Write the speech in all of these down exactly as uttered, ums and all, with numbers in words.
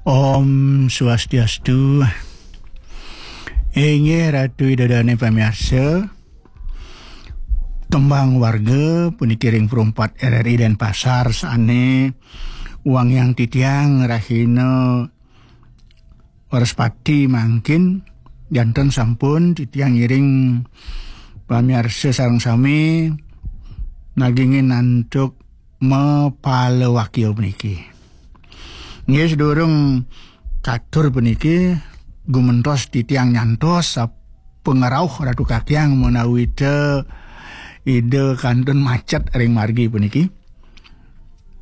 Om Swastiastu. Inggih Ratu Ida Dane pamiarsa. Tembang warga puniki ring Perumpat R R I Denpasar sane wangiang titiang rahina Wrespati mangkin, janten sampun titiang ngiring pamiarsa sareng sami nagingin antuk mapalawakia puniki. Nggih, sedurung katur puniki, gumentos titiang nyantos sapangrauh Ratu Kakiang menawi ta Ida kantun macet ring margi puniki.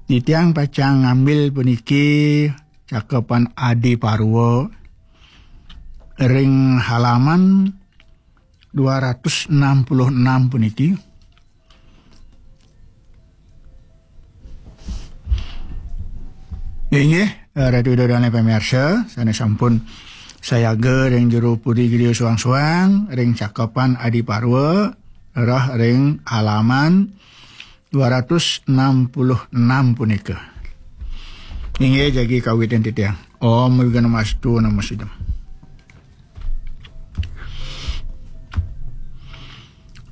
Titiang pacang ngambil puniki cakepan Adi Parwa ring halaman dua ratus enam puluh enam puniki. Inggih, Ratu Ida Dane pamiarsa, sane sampun sayaga ring jero puri griya suang-suang, ring cakepan Adi Parwa, rereh ring halaman dua ratus enam puluh enam punika. Inggih, jagi kawitin titiang. Om Awighnamastu Namo Siddham.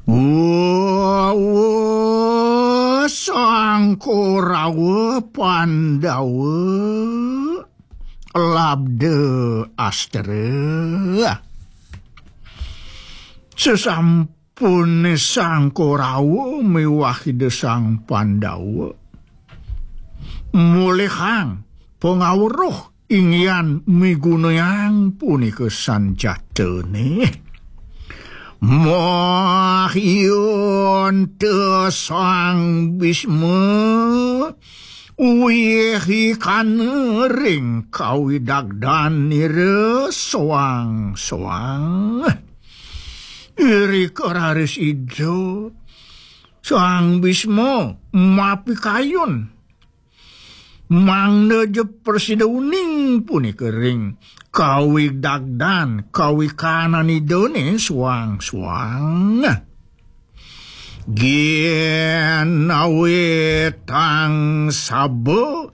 Wa, wa, Sang Korawa Pandawa labda astra. Sesampune Sang Korawa miwah Ida Sang Pandawa mulihang pangaweruh inggihan migunayang punika sanjatane. Mahyunta Sang Bisma wihikana ring kawidagdan nira soang-soang. Irika raris Ida Sang Bisma mapikayun mangda ja prasida uning punika ring kawidagdan kawikanan Idane suang-suang. Ginawe tang saba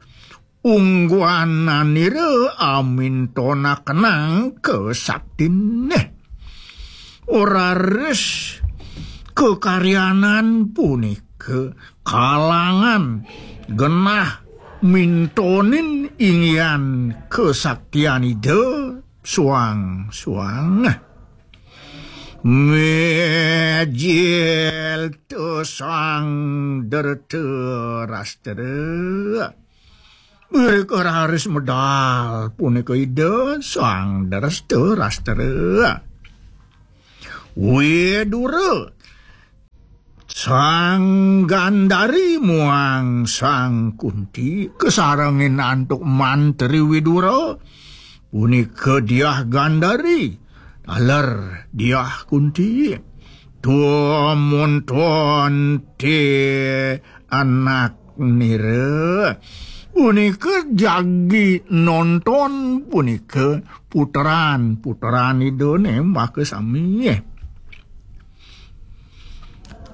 ungguananira amintonakenang kasaktine. Raris kakaryanan punika kalangan genah mintonin inggihan kasaktian Ida suang-suang. Mijil ta Sang Drtarastra. Irika raris medal punika Ida Sang Drtarastra. Widura, Sang Gandari muang Sang Kunti kasarengin antuk mantri Widura, punika Diah Gandari, taler Diah Kunti. Tumuntun ti anak nira. Punika jagi nonton punika puteran-puteran Idane makasami.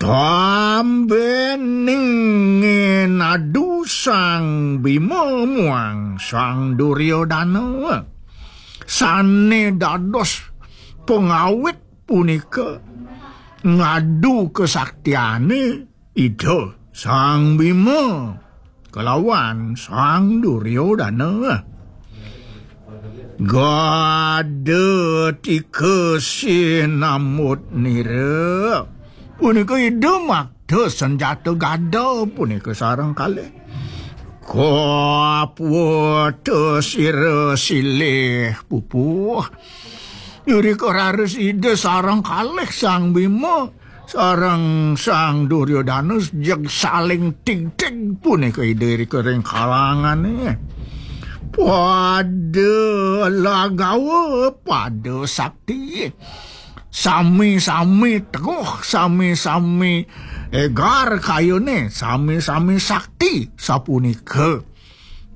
Tambening nadu Sang Bima muang Sang Duryodana sane dados pengawit punika ngadu kesaktiane Ida Sang Bima kalawan Sang Duryodana. Gada tika sinamut nira. Punika Ida makta senjata gada punika sareng kalih. Kaputa sira silih pupuh. Irika raris Ida sareng kalih Sang Bima sareng Sang Duryodana jeg saling tigtig punika Ida irika ring kalangane. Pada lagawa, pada sakti. Sami-sami teguh, sami-sami egar kayune, sami-sami sakti. Sapunika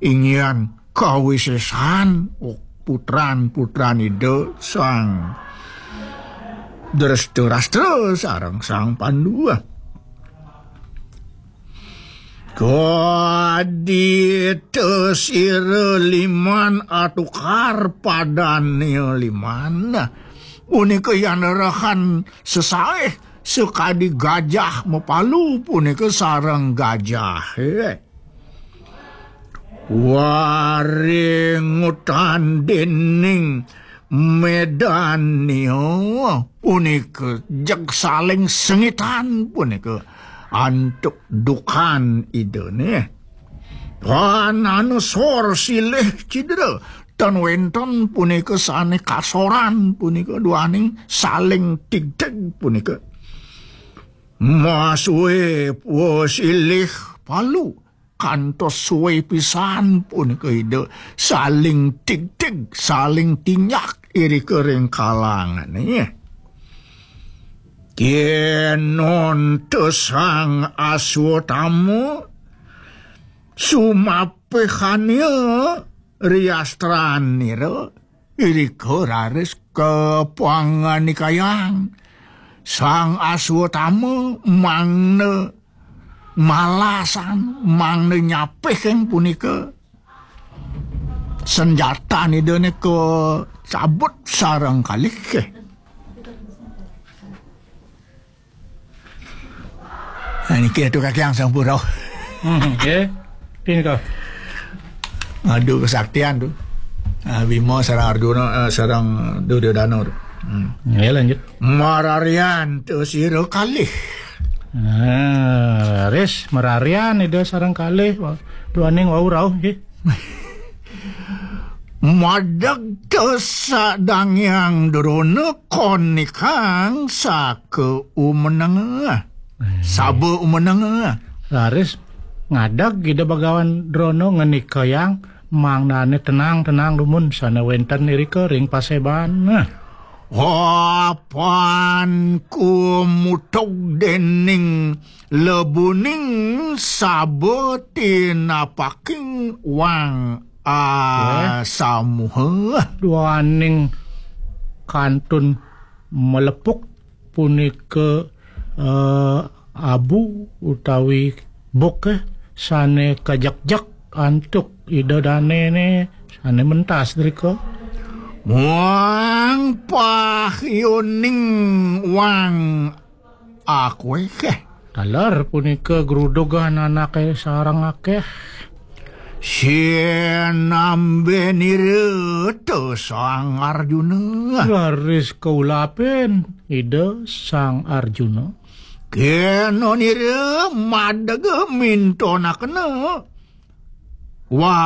inggihan kawisesan putran-putran Ida Sang Drestarstra sareng Sang Pandu. Kadi tesira liman atukar padane liman. Punika yan rehan sesaih sakadi gajah mapalu punika sareng gajah. Eh. Waringutan dening Medania punika jeg saling sengitan punika antuk dukan Idane. Pananusor silih cidra tan wenten punika sane kasoran punika duaning saling tigtig punika. Masue silih palu kantos suwe pisan punika Ida saling tigtig, saling tinjak irika ring kalangane. Kenon te Sang Aswatama sumapihania riastranira, irika raris kapanganikayang Sang Aswatama mangda malasan, mangda nyapihing punika senjatan Idane kacabut sareng kalih. Nah, niki Ratu Kakiang sampun rauh. Hmm, nggih. Pinika. Ngadu kesaktian tu. Ah, Bima sareng Arjuna, eh, sareng Duryodana tu. Hmm. Nggih, lanjut. Mararian te sira kalih. Ah, ris mararian Ida sareng kalih. Wa-, duaning wau rauh nggih. Madeg te sadang Hyang Drona konikang saka umeneng. Saba umeneng. Raris ngadeg Ida Bagawan Drona ngenikayang mangdane tenang-tenang dumun sane wenten irika ring paseban. Apan kumutug dening lebuning saba tinapaking wang asamuha. Duaning kantun melepuk punika, eh, abu utawi buk, eh, sane kajekjek antuk Ida Danene sane mentas drika. Muang pahyoning wang akweh. Taler punika grudugan anake sareng akeh. Sinambenira te Sang Arjuna. Raris kaulapen Ida Sang Arjuna. Kenonira madega mintonakena. Wa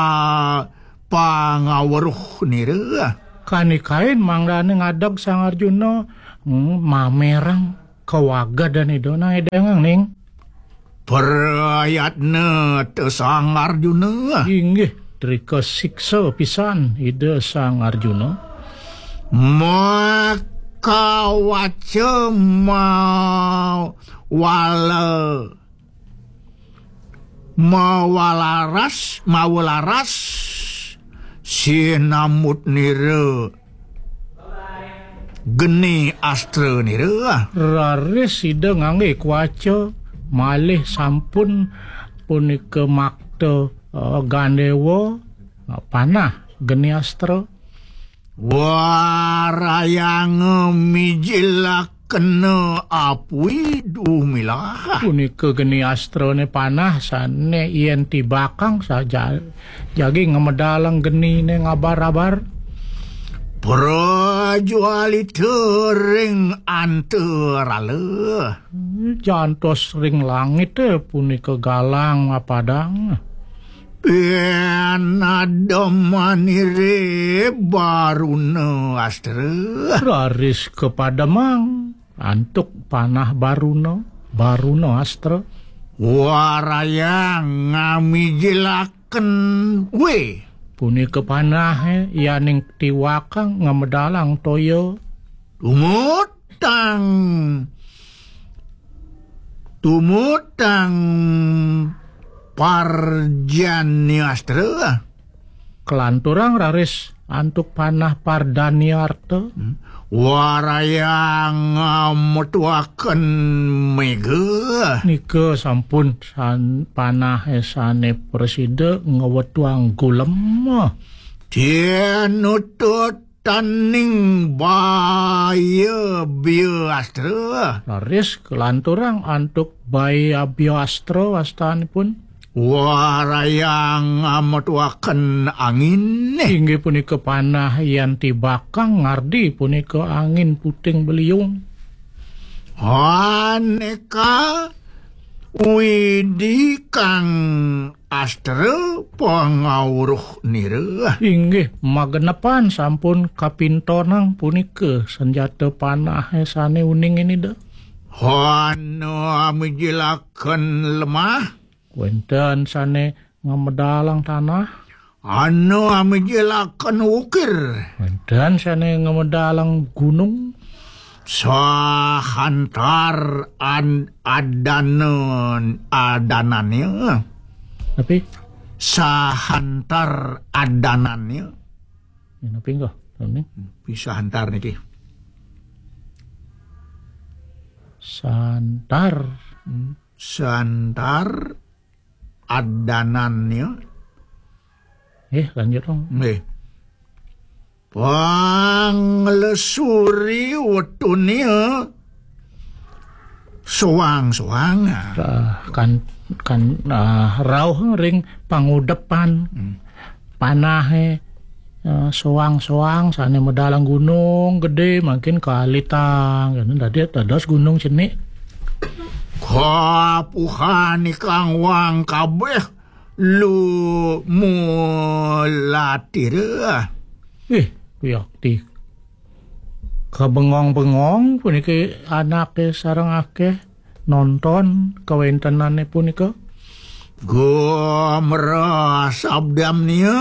pangaweruh nira. Kanikain mangdane ngadeg Sang Arjuna, hmm, mamerang kawagedan Ida nang edengang ning. Prayatna te Sang Arjuna. Inggih, drika siksa pisan Ida Sang Arjuna. Makawaca mawala mawalaras, mawalaras, sinamut nira geni astra nira. Raris Ida ngangge kuaca, malih sampun punika makta, eh, gandewa, eh, panah geni astra. Warayanga mijilakena apui dumilah. Punika geni astrane panah sane yen tibakang saja jagi ngamedalang genine ngabar-abar. Prajualita ring antarala. Jantos ring langite punika galang mapadang. Yen ademanire Baruna Astra. Raris kapademang antuk panah Baruna, Baruna Astra. Warayang ngamijilaken we. Punika panahe yaning tiwakang ngamedalang toya. Tumutang Tumutang parjaniastra. Kelanturang raris antuk panah Pardaniarta. Hmm. Warayang, ah, metuaken mega. Nika sampun san-, panah sane prasida ngwetuang gulem. Tinutut taning baya biastra. Raris kalanturang antuk baya biastra wastanipun. Warayang ametuaken angin. Inggih punika panah yan tibakang ngardi punika angin puting beliung. Aneka widi kang astra pangawruh nira. Inggih, magenepan sampun kapintonang punika senjata panah sane uning inida. Ana amijilaken lemah. Wenten sane ngamedalang tanah. Ana amijilaken ukir. Wenten sane ngamedalang gunung. Sahantar an-, adanan, adanannya. Tapi sahantar adanannya. Ya, tapi enggak, ini. Bisa hantar niki. Santar. Hmm. Santar adanannya. Eh, lanjut dong. Nggih. Panglesuri wetune soang-soang. Ah, kan, kan, ah, rauh ring pangudepan. Hmm. Panahe, eh, soang-soang sane medalang gunung gede mangkin kalitang. Dadi dados gunung cenik. Kapuhan ikang wang kabeh lu mulatira. Ih, kuyakti. Kabengong-bengong puniki anake sareng akeh nonton kawentenane punika. Gumrah sabdamnia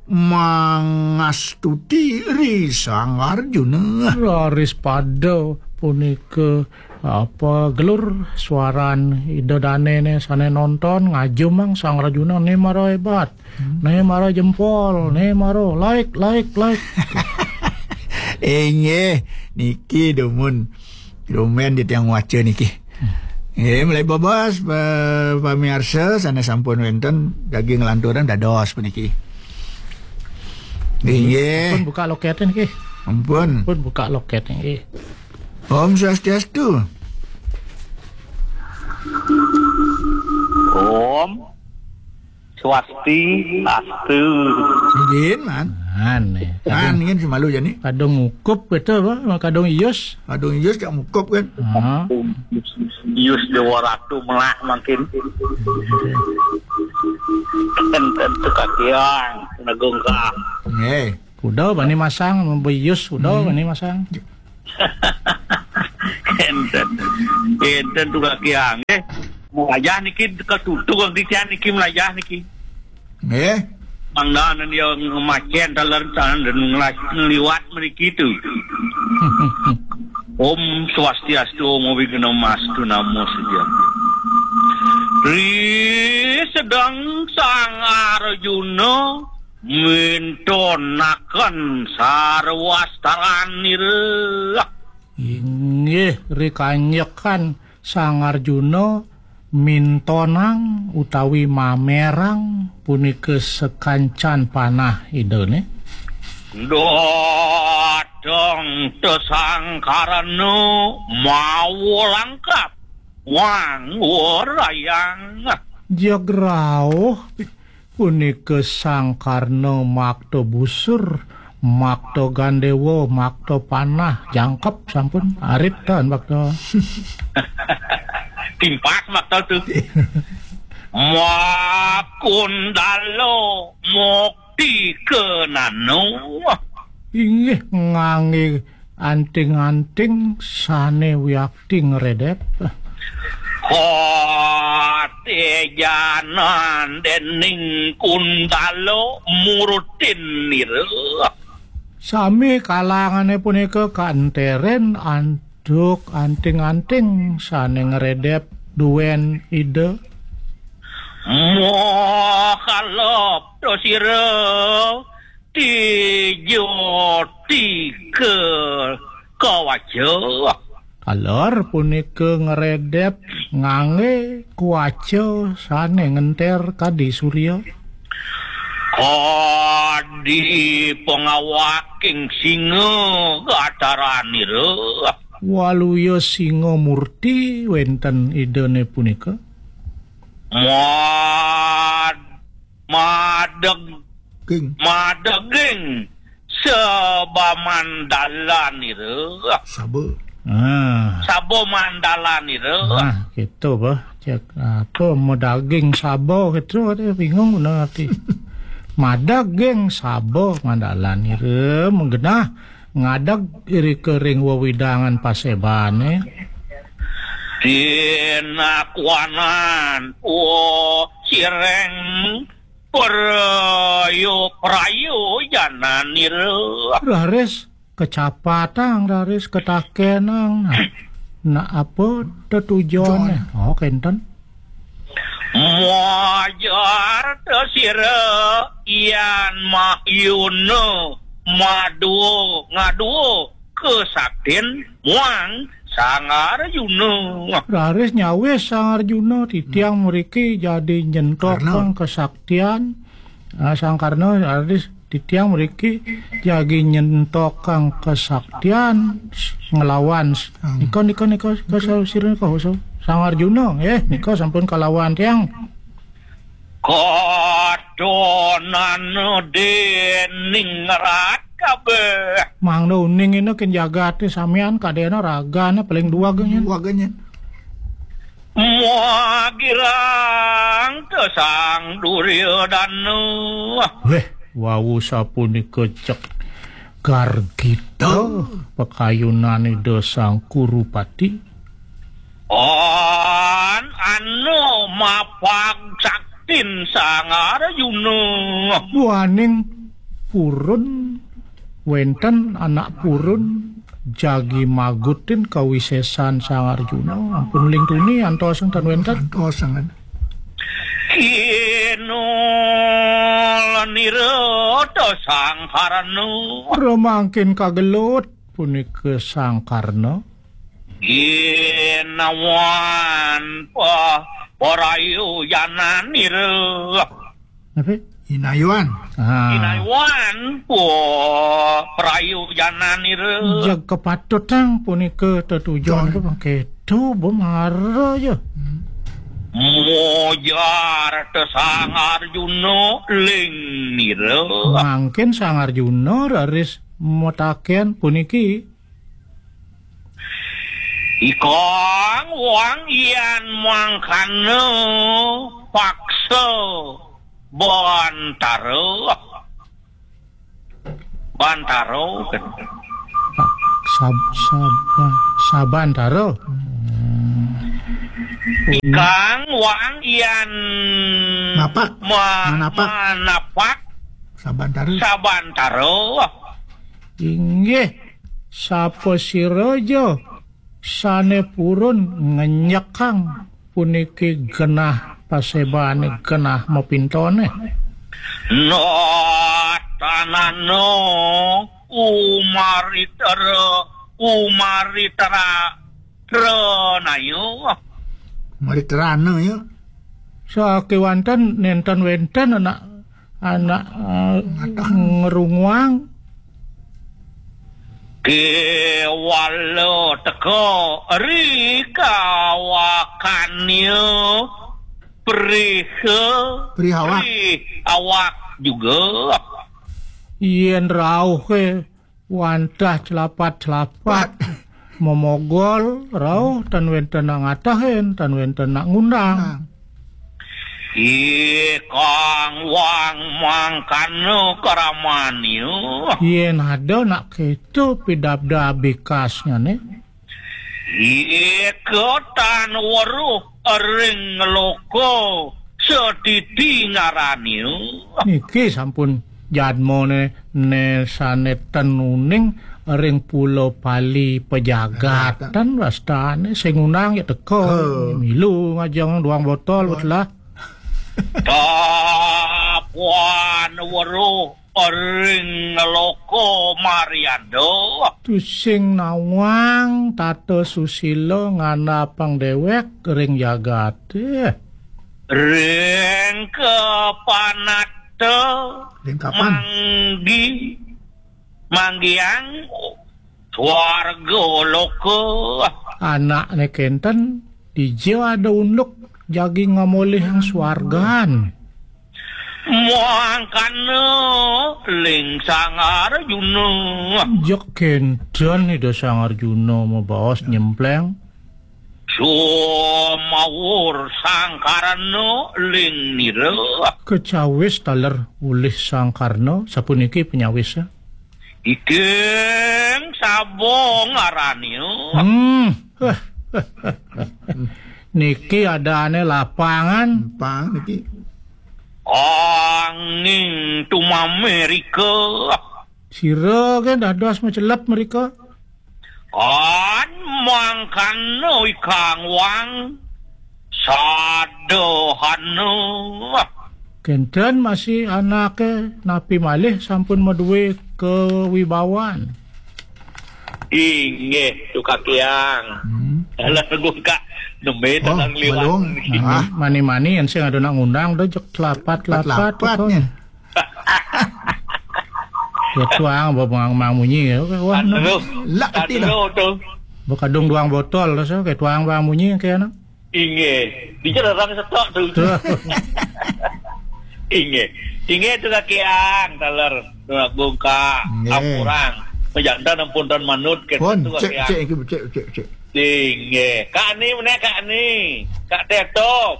mangastuti ri Sang Arjuna. Raris pada punika apa gelur suaran Ida Danene sane nonton ngajumang Sang Arjuna ne mara hebat, ne mara jempol, ne mara like, like, like. Inggih, niki dumun. Dumen di tiang waca niki. Nggih, mulai bebas, pa-, pamiarsa sane sampun wenten daging lanturan dados puniki. Inggih. Pun buka loket niki. Ampun. Pun buka loket niki. Om Swastiastu. Om Swastiastu. Nggih, Man. Aneh. Man, nggih, semalu jani. Kadung ngukup gitu apa? Kadung ius. Kadung ius cak ngukup kan. Ah. Ius Dewa Ratu melah mangkin. Enten tu kakiang, negung ka. Nggih. Kuda bani masang, beius kuda bani masang. Enten. Enten tu kakiang, eh. Melajah niki ketutu kaki kian niki melajah niki. Nggih. Mangdanan dia ngemacen taler tanan dan ngelas-, ngeliwat meriki tu. Om Swastiastu, Om Awighnamastu, Namo Sujam. Ri sedang Sang Arjuna mintonaken sarwastaranira. Inggih, rikanyekan Sang Arjuna mintonang utawi mamerang punika sakancan panah Idane. Dateng tesangkarana mawa langkap wang warayang. Jeg rauh punika Sang Karna makta busur, makta gandewa, makta panah, jangkep sampun arit tan makta. Timpas makta tu. Makundala mukti kenano. Inggih ngangge anting-anting sane wiakti ngredep. Katejanan dening Kundala murutin nira. Sami kalangane punika kanteren antuk anting-anting sane ngredep duen Ida. Moh kalep dosira Ija tika kawaca. Taler punika ngredep nganggé kuaca sané ngenter kadi surya. Kadi pangawaking singa gataranira. Waluya singa murti wénten Idané punika. Mad-, madeg-, King. Madeging saba mandalanira. Saba. Ah. Saba mandalanira. Nah, gitu, bah. Cek apa medaging saba gitu, ada bingung bener arti. Madaging saba mandalanira menggenah ngadeg irika ring wewidangan pasebané. Tinakwanan, oh, sireng, prayo, prayo jananira. Raris kecapatang, raris ketakenang. Nah, nah, apa tetujoné? Oh, kénten. Mojar ta sira yan mayuna madua ngadua kesaktin muang Sang Arjuna. Raris nyawis Sang Arjuna, titiang mriki jadi nyentokang kesaktian. Ah, Sang Karna, raris titiang mriki jagi nyentokang kesaktian nglawan s-, nika, nika, nika, nika, sa-, sira nika, sa-, Sang Arjuna, eh, nika sampun kalawan tiang. Katonana dening rat kabeh. Mangda uning ina ken jagate samian kadena ragane paling duwag nyen. Duwag nyen. Muagirang te Sang Duryodana. Weh, wau sapunika cek gargita. Tuh. Pakayunan Ida Sang Kurupati. An anu mapag saktin Sang Arjuna. Duaning purun wenten anak purun jagi magutin kawisesan Sang Arjuna. Ampun lintuni antos enten wenten. Antos enten. Kinul nira ta Sang Karna. Remangkin kagelut punika Sang Karna. Inawan pa-, parayuyananira. Napa? Inayuan. Ah. Inayuan pa-, parayuyananira. Jeg kapatutang punika tetujon. Jon. Ketu bemara ya. Hmm. Mojar te Sang Arjuna ling nira. Mangkin Sang Arjuna raris mataken puniki. Ikang wang yan mangkana paksa bantara. Bantara. Sab-, sab-, sabantara. Hmm. Ikang wang yan mapak. Ma-, manapak. Manapak. Sabantara. Sabantara. Inggih. Sapa sira ja sane purun ngenyekang puniki genah pasebane, genah mapintone? Natanana umaritara, umaritara, tranaya. Maritrana ya. Sakewanten nenten wenten anak anak, eh, ngerunguang. Kewala teka ri kawakanya perih, perih awak. Perih awak juga. Yen rauh ke wantah celapat-celapat. Pat. Momogol, rauh, tan wenten nak ngatahin, tan wenten nak ngundang. Nah. Ikang wang mangkana karamannya. Yen ada nak keto pidabda bikasnya ne. Ika tan weruh ring loka setiti ngarani. Niki sampun jadmane ne sane ten uning ring Pulo Pali pejagatan wastane sing undang ya teka. Oh. Milu ngajeng duang botol betelah. Tapuan weruh ring loka Marianda. Tusing nawang tata susila ngandhapang déwék ring jagaté. Ring kapanata. Ring kapan? Manggi-, manggiang swarga loka. Anakné kénten, dija ada unduk jagi ngamolihang swargan. Mangkana ling Sang Arjuna. Jeg kénten Ida Sang Arjuna mabaos nyempléng. Sumawur Sang Karna ling nira. Kacawis taler ulih Sang Karna, sapuniki panyawisa. Iking saba ngarania. Hmm. Niki adané lapangan. Pang niki. Anging tumamé rika. Sira ké dados macelep mrika. An mangkana ikang wang sadahana. Kénten masih anaké napi malih sampun madué kawibawan. Inggih, Tukakiang. Hmm. Alah, Gungkak. Nembé. Oh, tentang liwat. Belum. Mani-mani, yén sing ada nak ngundang, dah jek telapat-telapat. Telapat-telapat, kok. Nya. Ya, tuang, ba-, bang, bang munyi, ya. Oke, wah, no. Aduh. Lak ati dah. Aduh, tu. Bakadung duang botol, so, kayak tuang, bang munyi, kayak, no. Inggih. Di jarang setok tu. Tuh. Inggih. Inggih, Tukakiang, taler. Tuak Gungkak. Inggih. Ampurang. Majantan ampun tan manut, kayak. Pun, tu, cek, Kakiang. Cek, cek, cek, cek. Inggih. Kak Ani, mana Kak Ani? Kak Teto.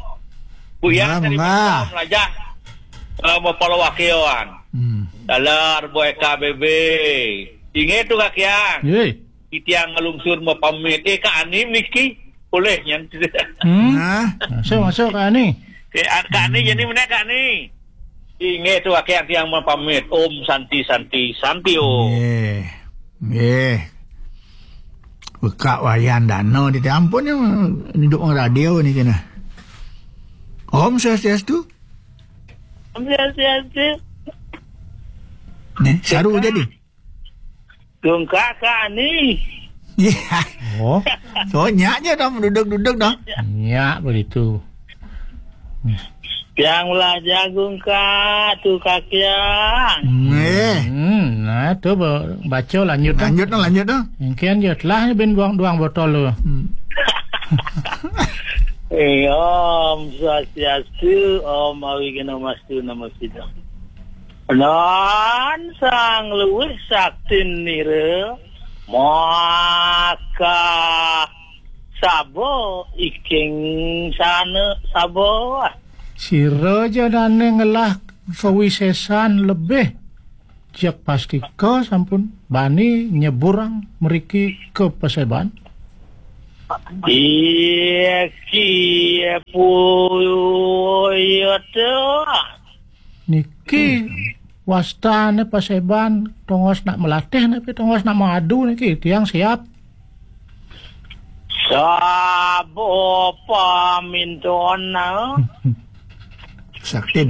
Buyang. Mangga, tadi mangga. Malam lajah. Eh, mapalawakilan. Hmm. Taler, boy K B B. Inggih, Tukakiang. Yoi. Titiang ngalungsur mapamit. Eh, Kak Ani niki. Boleh, nyan. Hmm. Nah. Masuk, masuk, Kak Ani. Eh, ah, Kak Ani, hmm. Jadi mana, Kak Ani? Inggih, Tukakiang, tiang mapamit. Om Santi, Santi, Santi, Om. Nggih. Nggih. Beka wayan dana di ampun ya, hidup orang radio ni kena. Om Swastiastu. Om Swastiastu. Nih, saru jadi. Gungkak Kak Ani. Iya. Oh. So, nyak je dah, duduk-duduk dah. Nyak begitu. Tiang belajar Gungkak, Tukakiang. Hmm, eh. Hmm, nah, tu ba-, baca lanjut dah. Lanjut dah, lanjut dah. Mungkin je telah ni bin buang duang botol tu. Hmm. Eh, Om Swastiastu, Om Awighnamastu Namo Siddham. Nan sang luwih saktin nira, maka saba iking sana saba. Sira ja dane ngelah kawisesan lebih, jak pastika sampun bani nyeburang mriki ka paseban. Iki puyuh. Niki wastane paseban, tongos nak melatih napi tongos nak mengadu niki, tiang siap. Sabo paminton, nah. Saktin.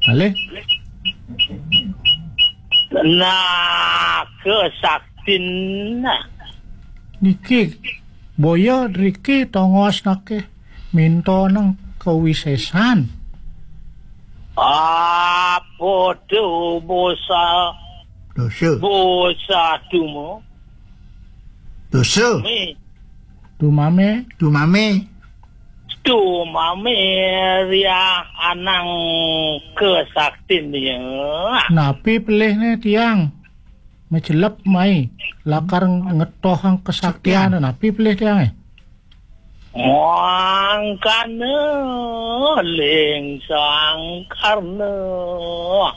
Malih. Nah, ke saktin, nah. Niki, boya driki tongos nake. Minta nang kawisesan. Apa tu bosa? Dosa. Bosa tu mo? Dosa. Mi. Tumame. Tumame. Tumame ria anang kesaktin dia. Napi pelihne tiang? Macelep mai, lakar ngetohang kesaktian, saktian. Napi pelih tiange? Mangkana ling Sang Karna.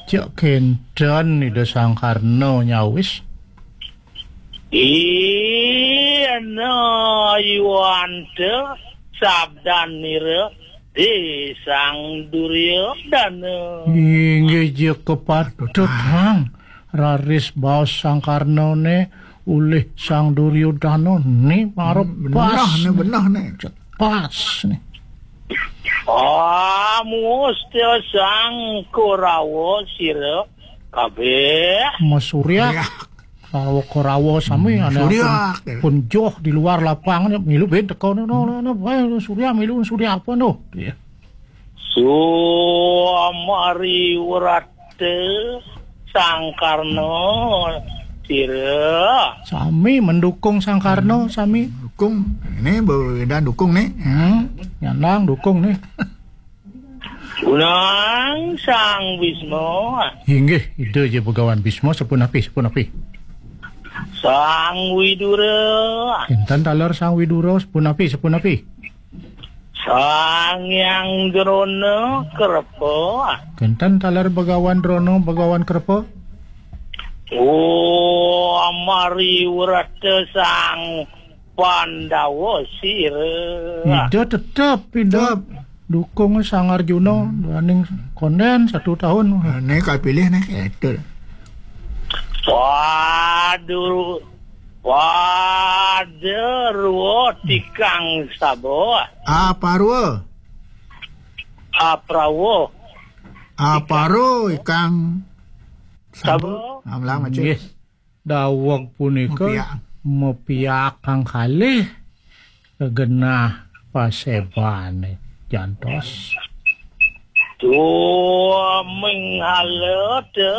Cek kenten Ida Sang Karna nyawis. Ina yuante sabdan nira di Sang Duryodana. Inggih, ja kepatut, Kang. Raris baos Sang Karnane ulih Sang Duryodana ni mara. Hmm, benah pas ni, ni. Benah ni. Pas ni. Ah, musti Sang Korawa sira Kabeh. Mesuryak. Suryak. Sawo kerawo sami. Hmm, anak suryak. Pun, pun joh di luar lapangan, milu ben teko, no, no, no, no, eh, suryak, milu suryak apa, no? Iya. Sumari werata Sang Karno sira. Sami mendukung Sang Karno, sami. Dukung. Ini Bu Ida dukung nih. Hmm, nyandang dukung nih. Unang Sang Bisma. Inggih, Ida ja Begawan Bisma, sepunapi, sepunapi. Sang Widura. Kinten taler Sang Widura, sepunapi, sepunapi. Sang Hyang Drona Krepa. Kinten taler Begawan Drona, Begawan Krepa. Oh, amari werata Sang Pandawa sira. Ida tetep, Ida. Tetep. Dukung Sang Arjuna, hmm, duaning konden satu tahun. Nah, ini kalau pilih nih, itu. Padu, Padarwa tikang saba. Aparwa. Aprawa. Aparo ikang saba. Saba. Amlang macam. Nggih. Daweg punika mepiak, mepiak kang kalih genah pasebane jantos. Tua menghala te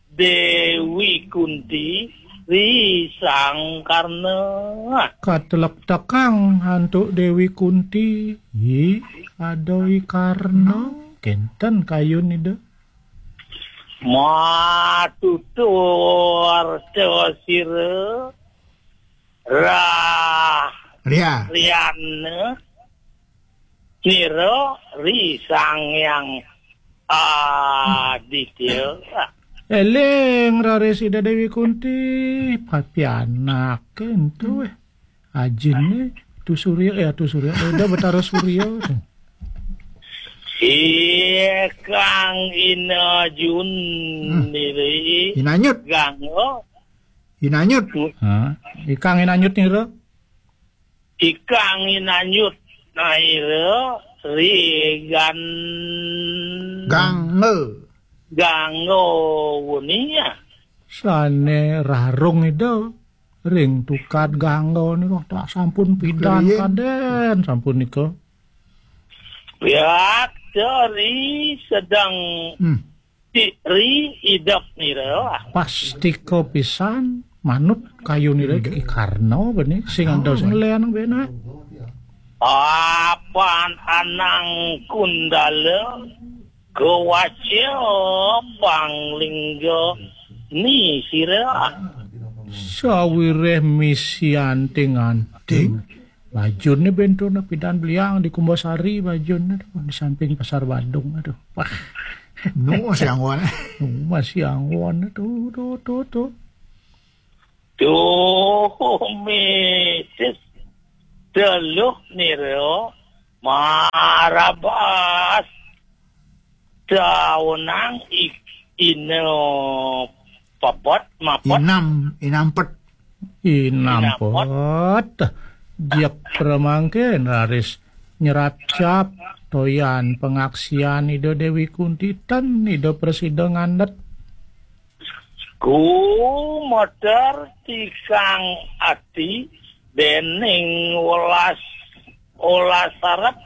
Dewi Kunti ri Sang Karna. Katelektekang antuk Dewi Kunti, hi, ada i Karna, kenten kayun ida. Matutur sira rah Ria. Riana nira ri Sang Hyang Aditya. Eling raris Ida Dewi Kunti, papianak entu, eh. Ajine Tu Surya, eh, Tu Surya, Ida Betara Surya. Ikang Inajun, hmm, niri. Inanyut. Gangga. Inanyut. Ha, ikang Inanyut nira. Ikang Inanyut naira ri gan Gangga. Gangga wenia. Sane rarung ida ring tukad Gangga nika tak sampun pidan. Riyen. Kaden sampun nika. Pihak dari sedang, hmm. Ri idep nira. Pastika pisan manut kayunira. Idep. I Karna bene sing ada sing lean bene. Apan anang kundala kewaca panglingga ni sira. Sawireh misian ting anting. Bajunne benturna pidan beliang di Kumbasari, bajunne tuh, di samping Pasar Badung, aduh. Wah. Nu masih anggon. Nu masih anggon, tuh, tuh, tuh, tuh. Tuh, misis teluh niro marabas. Taunang ik-, ino papet, mapet. Inam, inampet. Inampet. Inampet. Jek pramangkin raris nyeracap toyan pangaksian Ida Dewi Kunti ten Ida prasida ngandhet. Gumeter tikang ati dening welas, welas arep.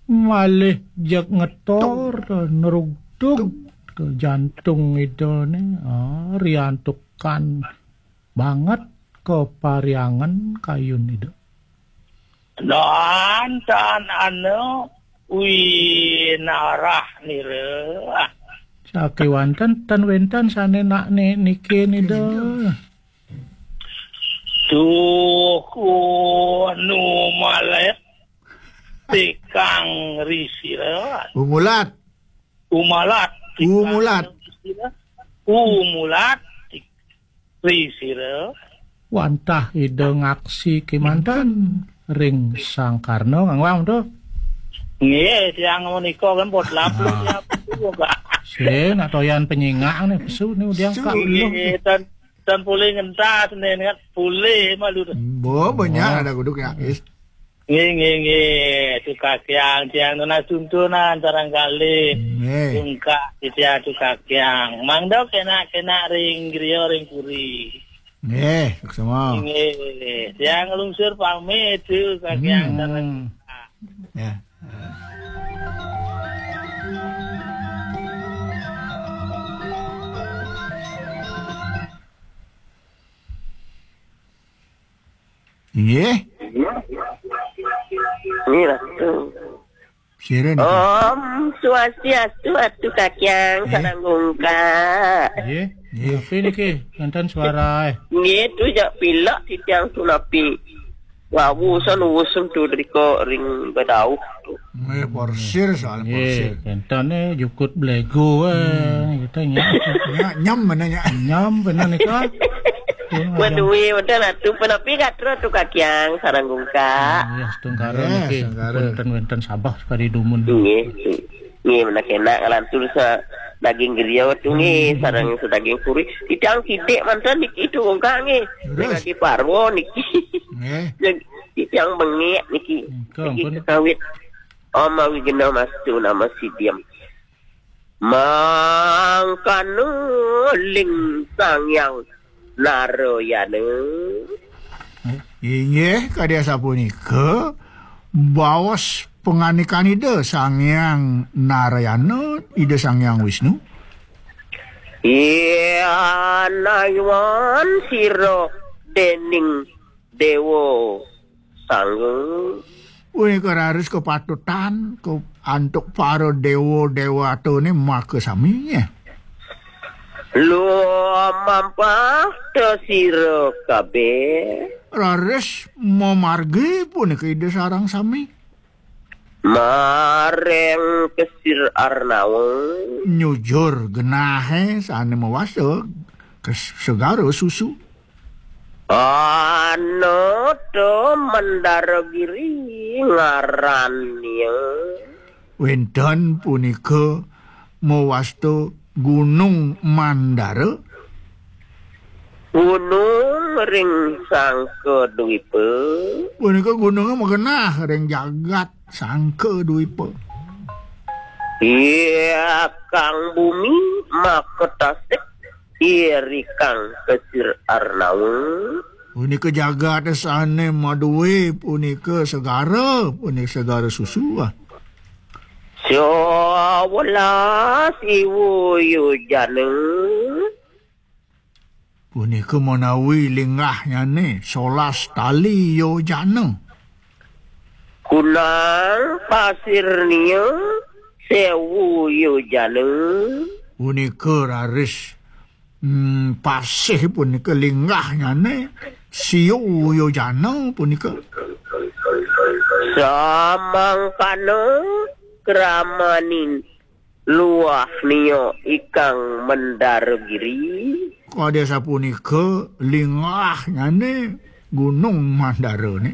Malih jeg ngetor nerugtug ke jantung Idane, ah, riantukan banget kapariangan kayun Ida. Dan tan anu winarah nira. Sakewanten tan wenten sane nak ni-, niki Ida. Tuh, kuno malet tikang risira. Umulat. Umalat. Umulat. Umulat. Risira. Wantah Ida ngaksi kemanten ring Sang Karna ngangwang to. Nggih, tiang menika kan pot lapuk. Ah. Ya, Pak. Sing nak toyan penyingak nih, pesu nih udiang. Pesu. Kak Luh. Nggih, tan, tan pulih ngentas nih, niat pulih malu to. Bo, banyak. Oh. Ada guduk ya, is. Nggih, nggih, nggih. Atu Kakyang, tiang nunas tuntunan sareng kalih. Nggih. Tungkak titiang Atu Kakyang. Mangda kenak-kenak ring griya ring puri. Nggih, suksma. Nggih. Tiang nglungsur pamit Atu Kakyang. Hmm. Sareng. Ya. Nggih. Nggih, Ratu. Sira niki. Om Swastiastu, Atu Kakyang. Nggih. Sareng Gungkak. Nggih. Nggih. Napi niki? Wénten suara, eh. Nggih, tu jak pilek titiang tu napi. Wau san uwusun tu drika ring bedauh tu. Nggih, porsir soal porsir. Nggih, wénten, eh, jukut belego, eh, kita nyam. Nya, nyam mana nya? Nyam bener nika. Waduh, wénten Atu, punapi gatra Atu Kakyang sareng Gungkak. Nggih, astungkara niki. Astungkara. Punten wénten sabeh sakadi dumun. Nggih. Nggih, menawi kenak nglantur sa daging griya tu nggih, sareng sadaging puri. Titiang kidik manten niki Atu Gungkak nggih. Leres. Ring Adi Parwa niki. Nggih. Titiang bengek niki. Nggih, niki ampun. Kekawit. Om Awighnamastu Namo Sidham. Mangkana ling Sang Hyang Narayana. Inggih, kadi asapunika, baos pangandikan Ida Sang Hyang Narayana, Ida Sang Hyang Wisnu. Yan ayuan sira dening Dewa Sangga. Punika raris kapatutan, ka-, antuk para dewa dewatane makasami, nggih. Lumampah ta sira kabeh. Raris mamargi punika Ida sareng sami. Maring Kesir Arnawa. Nyujur genahe sane mawasta kes-, segara susu. Anata Mandara Giri ngarannya. Wenten punika mawasta Gunung Mandara. Gunung ring Sangka Dwipa. Punika gununge magenah ring jagat Sangka Dwipa. Iya kang bumi makatasik, iya rikang Kesir Arnawa. Punika jagat sane madue punika segara, punika segara susu, ah. Sawelas iwu yojana. Punika manawi linggahnyane solas tali yojana. Kunang pasirnya sewu yojana. Punika raris, mm, pasih punika linggahnyane siu yojana punika. Samangkana kramaning luah nia ikang Mandara Giri. Kadi sapunika linggahnyane Gunung Mandarane.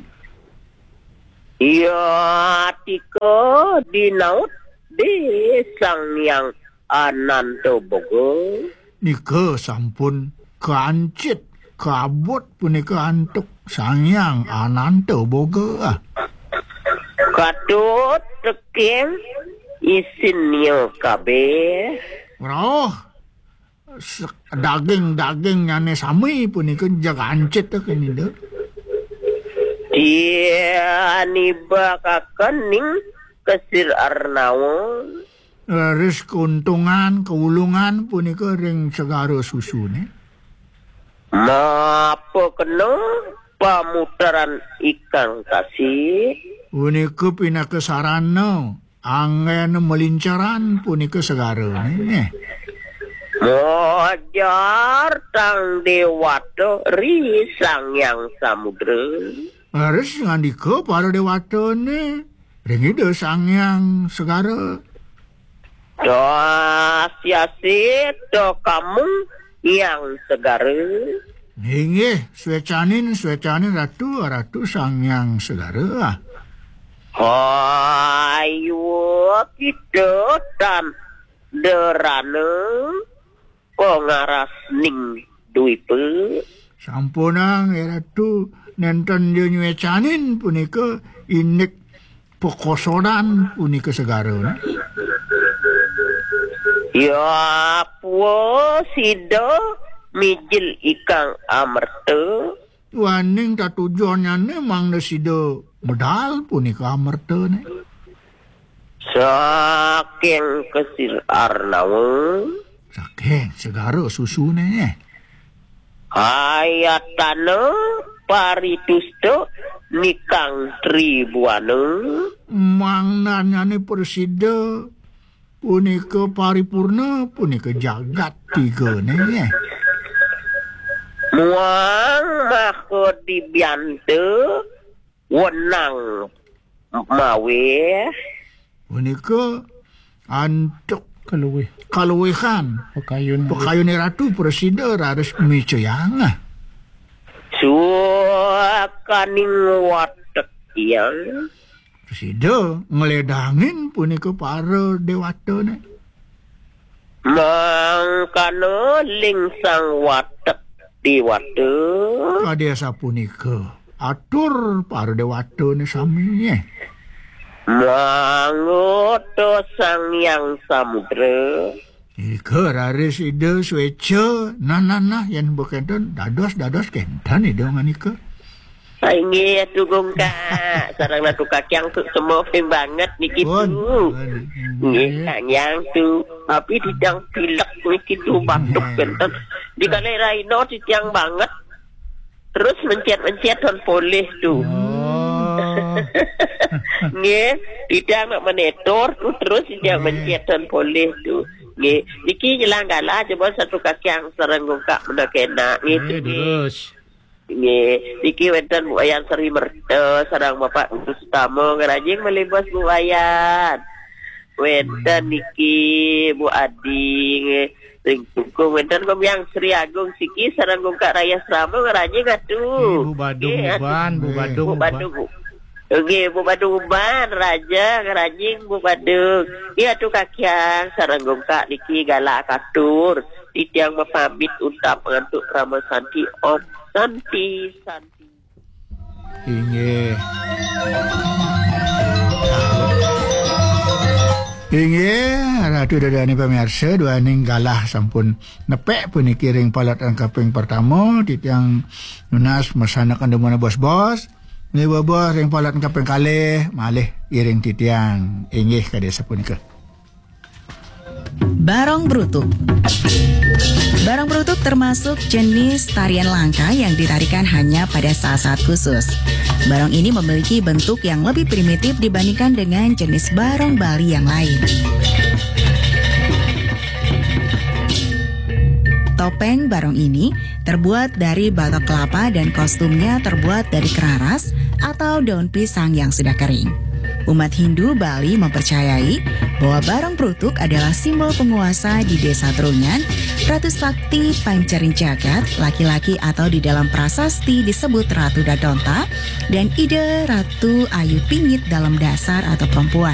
Iya tika dinaut di Sang Hyang Ananta Boga. Nika sampun kancit, kabut punika antuk Sang Hyang Ananta Boga. Katut tekeng isinnya kabeh. Rauh se-, daging-dagingnyane sami punika jeg ancit keninda. Tianibakaken ning Kesir Arnawa. Raris keuntungan, keulungan punika ring segara susune. Mapakena pamuteran ikang tasih. Punika pinaka sarana anggena malinceran punika segarane, nggih. Mojar tang dewata ri Sang Hyang Samudra. Leres ngandika para dewatane ring Ida Sang Hyang Segara. Dasiasi to kamung Hyang Segara. Inggih, swecanin, swecanin Ratu, Ratu Sang Hyang Segara. Hayu kita tan derana pangaras ning Dwipa. Sampunang, Ratu, nenten dia nyuecanin punika indik pekosodan punika segara. Ya, pua sida mijil ikang amerta. Waning tatujonnyane mangda sida medal punika amertane. Saking kesir arnawa. Saking segara susune. Ayatana paritusta nikang tribuana. Mangdanyane prasida punika paripurna, punika jagat tigane. Muang maha dibianta wenang maweh. Punika antuk kaluwih. Kaluwihan. Pakayun. Pakayune ratu prasida raris micayang. Suakaning watek tiang. Prasida ngledangin punika para dewatane. Mangkana lingsang watek dewata. Kadi asapunika atur para dewatane sami. Mangota Sang Hyang Samudra. Ika raris Ida sweca, nah, nah, nah, yen bekenten, dados, dados kenten Ida nganika. Inggih, Atu Gungkak. Sareng Ratu Kakyang tu semua banget niki tu. Pun. Nggih, Kang Yang tu. Tapi titiang pilek niki tu, batuk kenten. Di kali Raino titiang banget. Terus mencet-mencet dan polih tu. Oh. Nggih, titiang nak menetor tu terus titiang mencet dan polih tu. Nggih, niki nyelang galah coba satu kaki yang sareng Gungkak menda kena. Nggih, tu, nggih. Terus. Nggih, niki wenten Bu Wayan Sri Merta sareng Bapak Guru Sutama ngerajing malih bos Bu Wayan. Wenten niki Bu Adi nggih. Ring Tungkung wenten Kompiang Sri Agung siki sareng Gungkak Raya Srama ngerajing atu. Nggih, Bu Badung nggih, atu. Uban, Bu Badung Bu Uban. Badung. Nggih, Bu Badung Uban, Raja ngerajing Bu Badung. Nggih, atu Kakyang sareng Gungkak niki galah katur. Titiang mapamit untat ngantuk krama santi. Om Santi, Santi. Inggih. Inggih, Ratu Dadane pamiarsa, duaning galah sampun nepek puniki ring palatan kaping pertama, titiang nunas masanakan demen bos-bos. Nggih, bos-bos, ring palatan kaping kalih, malih iring titiang. Inggih, kadi sapunika. Barong Brutuk. Barong Brutuk termasuk jenis tarian langka yang ditarikan hanya pada saat-saat khusus. Barong ini memiliki bentuk yang lebih primitif dibandingkan dengan jenis barong Bali yang lain. Topeng barong ini terbuat dari batok kelapa dan kostumnya terbuat dari keraras atau daun pisang yang sudah kering. Umat Hindu Bali mempercayai bahwa Barong Brutuk adalah simbol penguasa di Desa Trunyan, Ratu Sakti Pancaring Jagat, laki-laki atau di dalam prasasti disebut Ratu Dadonta, dan Ida Ratu Ayu Pingit dalam dasar atau perempuan.